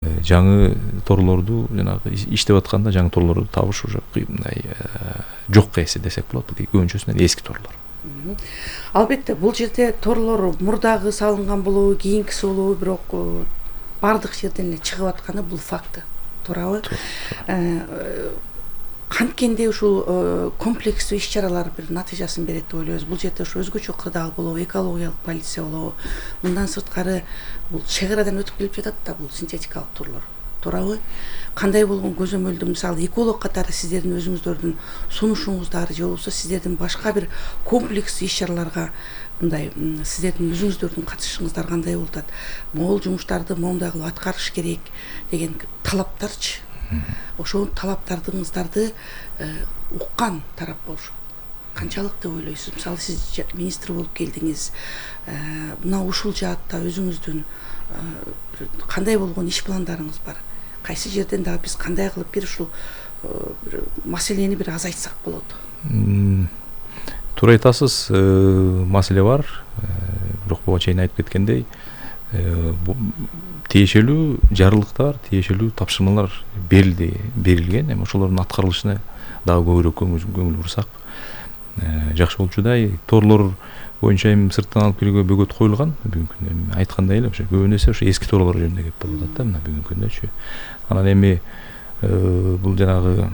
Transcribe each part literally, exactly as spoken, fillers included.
жаңы торлорду жанагы иштеп атканда жаңы торлорду табыш уже мындай жокко эсе десек болот. Бул көбүнчөсү эски торлор. Албетте бул жерде торлор мурдагы салынган болобу, кийинкиси болобу, бирок бардык жерден эле чыгып атканы бул факты. Туурабы? Канткенде ушул комплекстүү иш-чаралар бир натыйжасын берет деп ойлойбуз. Бул жерде ушу өзгөчө кырдаал болобу, экологиялык полиция болобу. Мындан сырткары бул чек-арадан өтүп келип жатат да бул синтетикалык торлор. Туурабы? Кандай болгон көзөмөлдү, мисалы эколог катары сиздердин өзүңүздөрдүн сунушуңуздар же болбосо сиздердин башка бир комплекстүү иш-чараларга мындай сиздердин өзүңүздөрдүн катышышыңыздар кандай болуп атат? Могул жумуштарды моундай кылып аткарыш керек деген талаптарчы. Ошол талаптарыңыздарды уккан тарап болуш канчалык деп ойлойсуз? Мисалы сиз министр болуп келдиңиз. Мына ушул жаатта өзүңүздүн кандай болгон иш пландарыңыз бар? Кайсы жерден дагы биз кандай кылып бир ушул маселени бир азайтсак болот? Туура айтасыз, маселе бар. Бирок буга чейин айтып кеткендей, тиешелүү жарылыктар, тиешелүү тапшырмалар берилди, берилген. Эми ошолордун аткарылышына дагы көбүрөөк көңүл бурсак жакшы болчудай. Торлор боюнча эми сырттан алып келүүгө бөгөт коюлган. Бүгүнкү күндө эми айткандай эле ошо көбүн эсе ошо эски торлор жөнүндө кеп болуп атат да мына бүгүнкү күндөчү. Анан эми бул жанагы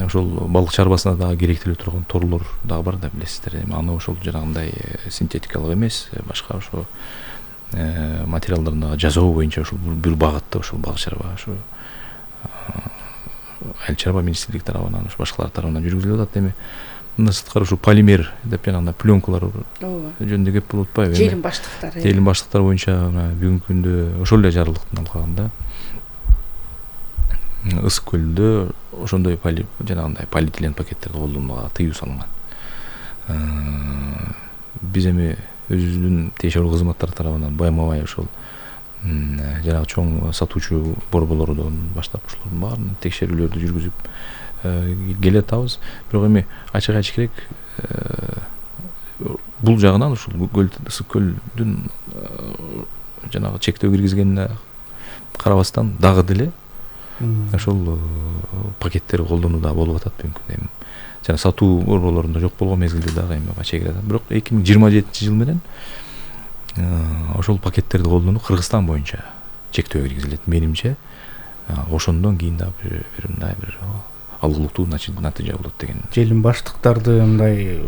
ошол балык чарбасына дагы керектелип турган торлор дагы бар да билесиздер. Эми аны ошол жанагындай синтетикалык эмес, башка ошо материалдарын жасоо боюнча ошол бир багытта ошол балык чарба ошо айыл чарба министрлиги тарабынан ошо башкалар тарабынан жүргүзүлүп атат. Эми мындан сырткары ушул полимер деп жанагындай пленкалар жөнүндө кеп болуп атпайбы? Желим баштыктар. Желим баштыктар боюнча бүгүнкү күндө ошол эле жарылыктын алкагында Ысык көлдө ошондой жанагындай полиэтилен пакеттерди колдонууга тыюу салынган. Биз эми өзүбүздүн тиешелүү кызматтар тарабынан байма-бай ошол жанагы чоң сатуучу борборлордон баштап ошолордун баарын текшерүүлөрдү жүргүзүп келатабыз. Бирок эми ачык айтыш керек, бул жагынан ушул Ысык көлдүн жанагы чектөө киргизгенине карабастан дагы деле ошол пакеттер колдонууда болуп атат бүгүнкү күндө. Жана сатуу борборлорунда жок болгон мезгилде дагы эми чегара. Бирок эки миң жыйырма жетинчи жыл менен ошол пакеттерди колдонуу Кыргызстан боюнча чектөө киргизилет. Менимче ошондон кийин дагы бир мындай бир алгылыктуу натыйжа болот деген. Желим баштыктарды мындай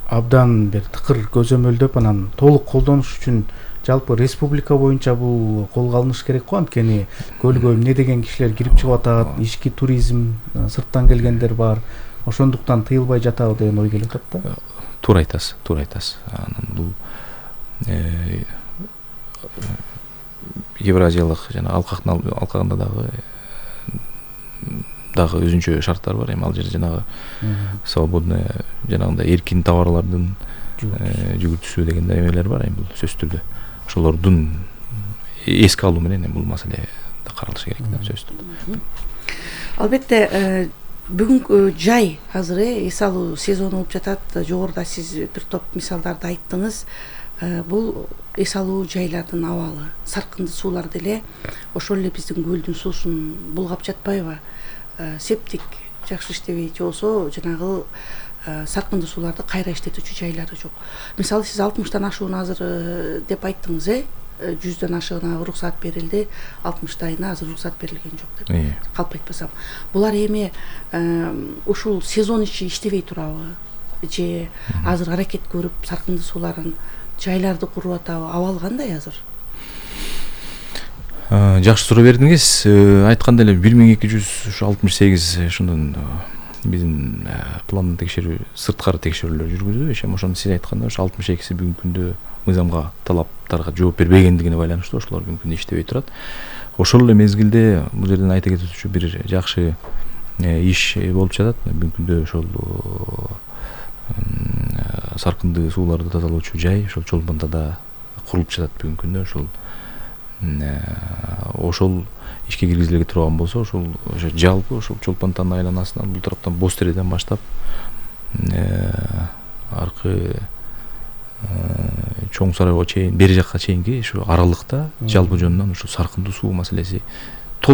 абдан бир тыкыр көзөмөлдөп анан толук колдонуш үчүн жалпы республика боюнча бул колго алыныш керек го. Анткени көлгө эмне деген кишилер кирип чыгып атат, ички туризм, сырттан келгендер бар. Ошондуктан тыйылбай жатабы деген ой келип атат да. Туура айтасыз, туура айтасыз. Анан бул Евразиялык жана алкактын алкагында дагы дагы өзүнчө шарттар бар. Эми ал жерде жанагы свободный жанагындай эркин товарлардын жүгүртүүсү деген эмелер бар. Эми бул сөзсүз түрдө ошолордун эске алуу менен бул маселе да каралышы керек да сөзсүз түрдө. Албетте бүгүнкү жай азыр эс алуу сезону болуп жатат. Жогоруда сиз бир топ мисалдарды айттыңыз. Бул эс алуу жайлардын абалы, саркынды суулар деле ошол эле биздин көлдүн суусун булгап жатпайбы? Септик жакшы иштебей, же болбосо жанагы саркынды сууларды кайра иштетүүчү жайлары жок. Мисалы сиз алтымыштан ашууну азыр деп айттыңыз, э? жүздөн ашыгына уруксат берилди, алтымыштайына азыр уруксат берилген жок деп калп айтпасам. Булар эми ушул сезон ичи иштебей турабы? Же азыр аракет көрүп саркынды сууларын жайларды куруп атабы? Абал кандай азыр? Жакшы суроо бердиңиз. Айткандай эле бир миң эки жүз алтымыш сегиз ошондон биздин пландын текшерүү, сырткары текшерүүлөр жүргүздү. Ошо ошону сиз айткандай ошо алтымыш экиси бүгүнкү күндө мыйзамга, талаптарга жооп бербегендигине байланыштуу ошолор бүгүнкү күндө иштебей турат. Ошол эле мезгилде бул жерден айта кетүүчү бир жакшы иш болуп жатат. Бүгүнкү күндө ошол саркынды сууларды тазалоочу жай ошол Чолпонтада курулуп жатат бүгүнкү күндө. Ошол ошол ишке киргизиле турган болсо, ошол жалпы ошол Чолпонтанын айланасынан бул тараптан Боз Тереден баштап аркы Чоң Сарайга чейин, бери жакка чейинки ушу аралыкта жалпы жөнүнөн ушу саркындуу суу маселеси